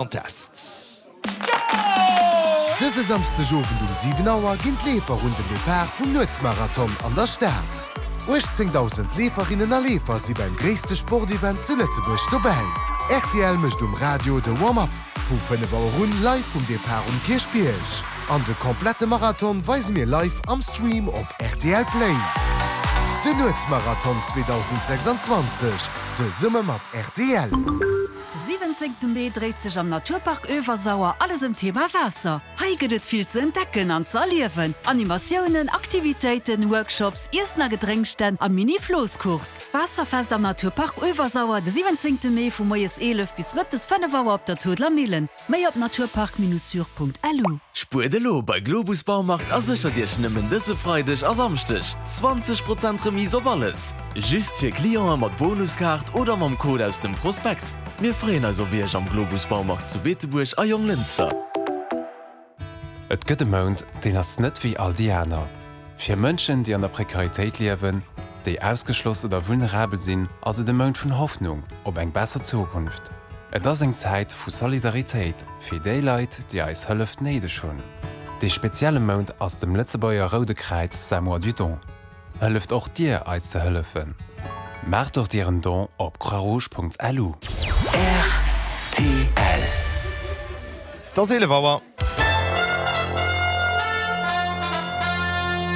Contests. Dëse Samsdeg Owend um 7 Auer ginn d'Leefer un den Depart vum Nuetsmarathon an der Stad. 18.000 Leeferinnen a Leefer si beim gréisste Sportevent zu Lëtzebuerg dobäi. Rtl mécht um Radio de Warm-up vu 5 Auer un live vum Depart um Kierchbierg. An de komplette Marathon weise mir live am Stream op rtl Play. Den Nuetsmarathon 2026 zesumme mat rtl. De 17 Mee dréit sech am Naturpark Öewersauer alles ëm d'Thema Waasser. Hei gëtt et vill ze entdecken an ze erliewen, Animatiounen, Aktivitéiten, Workshops, Iessen a Gedrénksstänn a Mini-Floosscourse. Waasserfest am Naturpark Öewersauer de 17 Mee vu moies 11 bis mëttes 5 Auer op der Toodler Millen. Méi op naturpark-sur.lu. Spuert elo bei Globus Baumarkt a séchert Iech nëmmen dëse Freideg a Samschdeg 20 Prozent Remise op alles! Just fir Clienten mat Bonuskaart oder mam Code aus dem Prospekt. Mir freeën eis op Iech am Globus Baumarkt zu Beetebuerg a Jonglënster. Et gëtt e Mount, deen ass net wéi all déi aner. Fir Mënschen, déi an der Prekaritéit liewen, déi ausgeschloss oder vulnerabel sinn, ass et e Mount vun Hoffnung op eng besser Zukunft. Et ass eng Zäit vu Solidaritéit fir déi Leit, déi eis Hëllef néideg hunn. Dee spezielle Mount ass dem Lëtzebuerger Roude Kräiz säi Mois du Don. Hëlleft och Dir eis ze hëllefen? Maacht och Dir en Don op croixrouge.lu. Rtl. Et ass 11 Auer.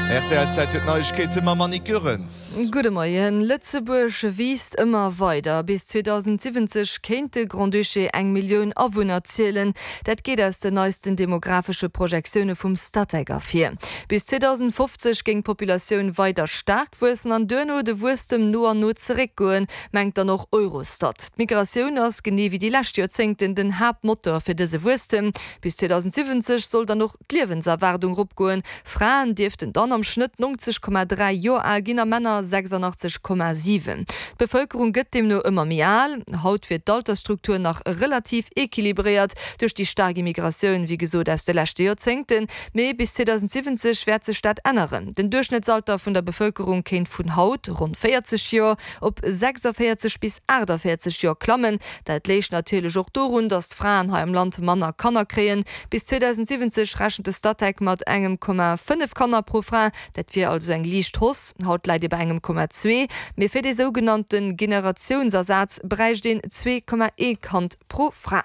Rtl Zäit fir d'Neiegkeete mam Annick Goerens. Gudde Moien. Lëtzebuerg wiisst ëmmer weider. Bis 2070 kéint de Grand-Duché eng Millioun Awunner zielen. Dat geet aus den neisten demographesche Projektioune vum Statec ervir. Bis 2050 géing d'Populatioun weider staark wuessen an duerno de Wuesstem no an no zeréckgoen, mengt dann och Eurostat. D'Migratioun ass, genee wéi déi lescht Joerzéngten, den Haaptmotor fir dëse Wuesstem. Bis 2070 soll dann och d'Liewenserwaardung eropgoen. Fraen dierften dann am Schnëtt 90,3 Joer al ginn a Männer 86,7. D'Bevëlkerung gëtt deemno ëmmer méi al. Haut wier d'Altersstruktur nach relativ equilibréiert duerch déi staark Immigratioun, wéi gesot aus de leschte Joerzéngten. Mee bis 2070 wäert sech dat änneren. Den Duerchschnëttsalter vun der Bevëlkerung kéint vun haut, ronn 40 Joer, op 46 bis 48 Joer klammen. Dat léich natierlech och dorun, datt d'Fraen hei am Land manner Kanner kréien. Bis 2070 rechent de Statec mat engem Komma 5 Kanner pro Fra. Dat wier also eng liicht Hausse. Haut läit ee bei engem Komma zwee. Mee fir dee sougenannte Generatiounsersaz bräicht een 2,1 Kand pro Fra.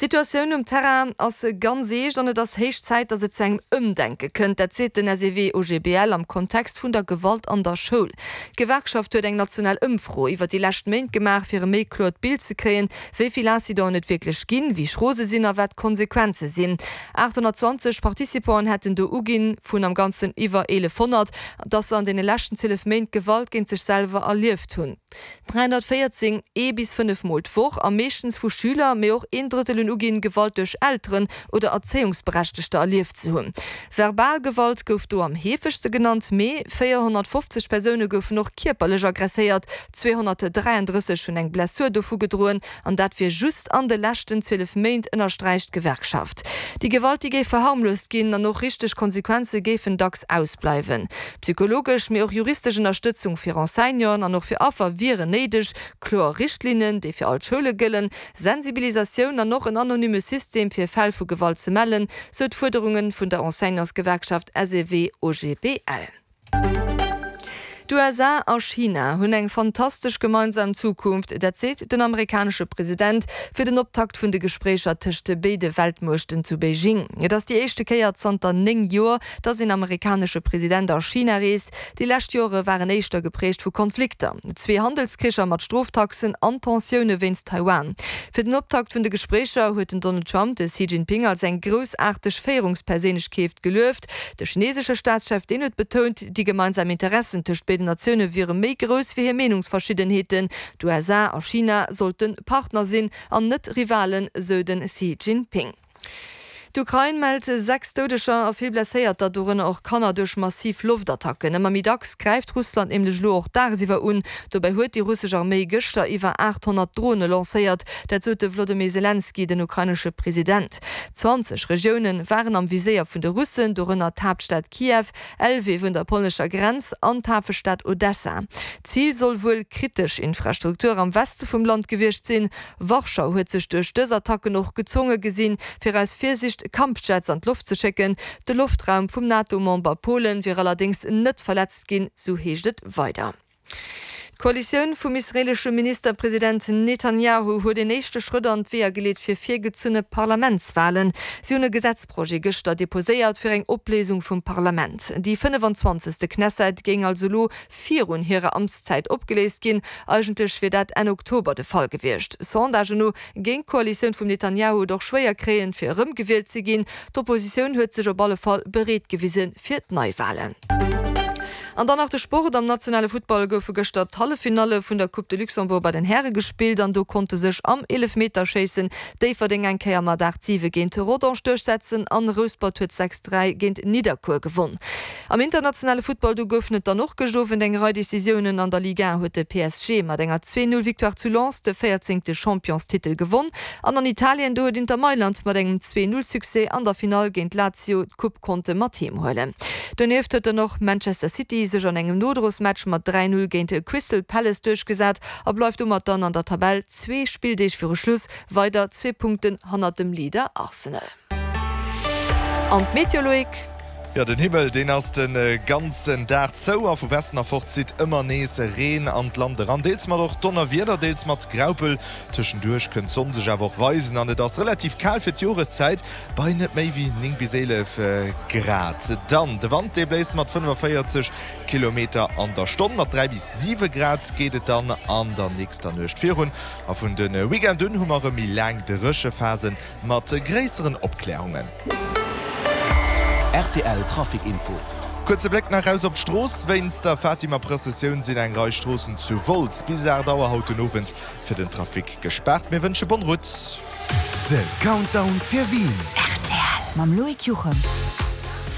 D'Situatioun um Terrain ass ganz eescht an et ass héich Zäit, datt et zu engem Ëmdenke kënnt. Dat seet den SEW-OGBL am Kontext vun der Gewalt an der Schoul. D'Gewerkschaft huet eng national Ëmfro iwwer déi lescht Méint gemaach, fir e méi kloert Bild ze kréien, wéi vill Incidenten et wierklech ginn, wéi schro se sinn a wat d'Konsequenze sinn. 820 Participanten hätten do uginn, vun am Ganzen iwwer 1.100, datt se an deene leschten 12 Méint Gewalt géint sech selwer erlieft hunn. 314, ee bis 5 Mol d'Woch, a meeschtens vu Schüler, mee och een Drëttel hunn uginn, Gewalt duerch Elteren oder Erzéiungsberechtegter erlieft ze hunn. Verbal Gewalt gouf do am heefegste genannt, mee 450 Persoune goufen och kierperlech aggresséiert, 233 hunn eng Blessur dovu gedroen, an dat wier just an de leschten 12 Méint, ënnersträicht d'Gewerkschaft. Déi Gewalt, déi géif verharmloost ginn an och richteg Konsequenze géifen dacks ausbleiwen. Psychologesch, mee och juristesch Ënnerstëtzung fir Enseignanten an och fir Affer wieren néideg, kloer Richtlinnen, déi fir all d'Schoule gëllen, Sensibilisatioun an och en anonyme System fir Fäll vu Gewalt ze mellen, sou d'Fuerderunge vun der Enseignantsgewerkschaft SEW-OGBL. D'USA a China hunn eng fantastesch gemeinsam Zukunft, dat seet den amerikanesche President fir den Optakt vun de Gespréicher tëscht béide Weltmuechten zu Beijing. Et ass déi éischte Kéier zanter 9 Joer, Datt een amerikanesche President a China reest. Déi lescht Jore waren éischter geprägt vu Konflikter, zwee Handelskricher mat Stroftaxen an Tensioune wéinst Taiwan. Fir den Optakt vun de Gespréicher huet den Donald Trump de Xi Jinping als eng groussaarteg Féierungsperséinlechkeeft gelueft. De chinesesche Staatschef, deen huet betount, déi gemeinsam Interessen tëscht béiden Natioune wiere méi grouss wéi hir Meenungsverschiddenheeten. D'USA a China sollte Partner sinn an net Rivalen, sou de Xi Jinping. D'Ukrain mellt 6 Doudeger a vill Blesséierter, dorënner och Kanner, duerch massiv Loftattacken. Ëmmer méi dacks gräift Russland nämlech elo och dagsiwwer un. Dobäi huet déi russesch Arméi gëschter iwwer 800 Drone lancéiert. Dat sot de Wlodymyr Selenskyj, den ukrainesche President. 20 Regioune waren am Viséier vun de Russen, dorënner d'Haaptstad Kiew, Lwiw un der polnescher Grenz an d'Hafestad Odessa. Zil soll wuel kritesch Infrastruktur am Weste vum Land gewiescht sinn. Warschau huet sech duerch dës Attacken och gezwonge gesinn, fir aus Virsicht Kampfjets an d'Loft ze schécken. De Loftraum vum NATO-Member Polen wier allerdéngs net verletzt ginn, sou heescht et weider. D'Koalitioun vum israeelesche Ministerpresident Netanjahu huet een éischte Schrëtt an d'Weeër geleet fir virgezunne Parlamentswalen. Si hunn e Gesetzprojet gëschter deposéiert fir eng Opléisung vum Parlament. Déi 25. Knesset géing also elo virun hirer Amtszäit opgeléist ginn. Eigentlech wier dat Enn Oktober de Fall gewiescht. Sondagen no géing d'Koalitioun vum Netanjahu et och schwéier kréien, fir erëmgewielt ze ginn. D'Oppositioun huet sech op alle Fall bereet gewise fir d'Neiwalen. An dann nach de Sport, Am nationale Futtball goufe gëschter d'Halleffinalle vun der Coupe de Luxembourg bei den Häre gespillt an do konnte sech am Eelefmeterschéissen Déifferdeng eng Kéier mat 8, 7 géint Rodange duerchsetzen an Rouspert huet 6, 3 géint Nidderkuer gewonn. Am internationale Futtball, do goufen et dann och gëscht Owend eng Rei Decisiounen. An der Ligue 1 huet de PSG mat enger 2, 0 Victoire zu Lens de véierzéngte Championstitel gewonn. An an Italien, do huet Inter Mailand mat engem 2, 0 Succès an der Finall géint Lazio d'Coupe konnte mat heem huelen. Donieft huet dann och Manchester City sech an engem Nodrosmatch mat 3, 0 géint Crystal Palace duerchgesat a bleift domat dann an der Tabell zwee Spilldeeg viru Schluss weider zwee Punkten hannert dem Leader Arsenal. An d'Meteo, Loïc? Jo, den Himmel deen ass de ganzen Dag zou a vu Westen erfort zitt ëmmer nees Reen an d'Land eran, deels mat och Donnerwieder, deels mat Graupel. Tëschenduerch kënnt d'Sonn sech awer och weisen an et ass relativ kal fir d'Joreszäit bei net méi wéi 9 bis 11 Grad. Dann de Wand, dee bléist mat 45 Kilometer an der Stonn. Mat 3 bis 7 Grad geet et dann an der nächster Nuecht virun a vun de Weekend un hu mer erëm méi laang Dréchephasen. Mat gréisseren Opklärungen. Rtl Trafic Info. Kuerze Bléck nach raus op d'Strooss. Wéinst der Fatima-Prëssessioun sinn eng Rei Stroossen zu Wolz bis 8 Auer haut den Owend fir den Trafic gespaart. Mir wënsche bonne route. De Countdown fir Wien. Rtl mam Loïc Juchem.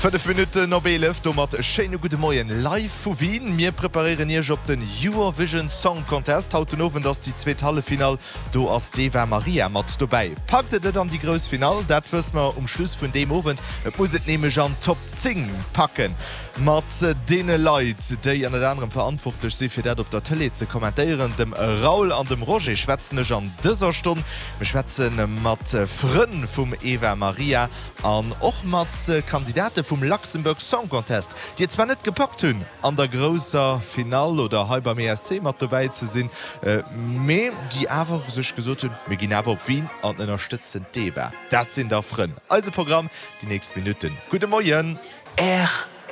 5 Minutten op 11, domat e schéine gudde Moien live vu Wien. Mir preparéieren Iech op den Eurovision Song Contest. Haut den Owend ass déi zweet Halleffinall Do ass d'Eva Marija mat dobäi. Packt et et an déi grouss Finall? Dat wësse mer um Schluss vun deem Owend. Et muss et nämlech an d'Top 10 packen. Mat deene Leit, déi ënnert anerem verantwortlech si fir dat op der Tëlee ze kommentéieren, dem Raoul an dem Roger, schwätzen ech an dëser Stonn. Mir schwätze mat Frënn vum Eva Marija an och mat Kandidate vum Luxembourg Song Contest, déi et zwar net gepackt hunn an der grousser Finall oder hei beim ESC mat dobäi ze sinn, Mee déi awer sech gesot hunn, mir ginn awer op Wien an ënnerstëtzen d'Eva. Dat sinn da Frënn. Eise Programm déi nächst Minutten. Gudde Moien. Rtl.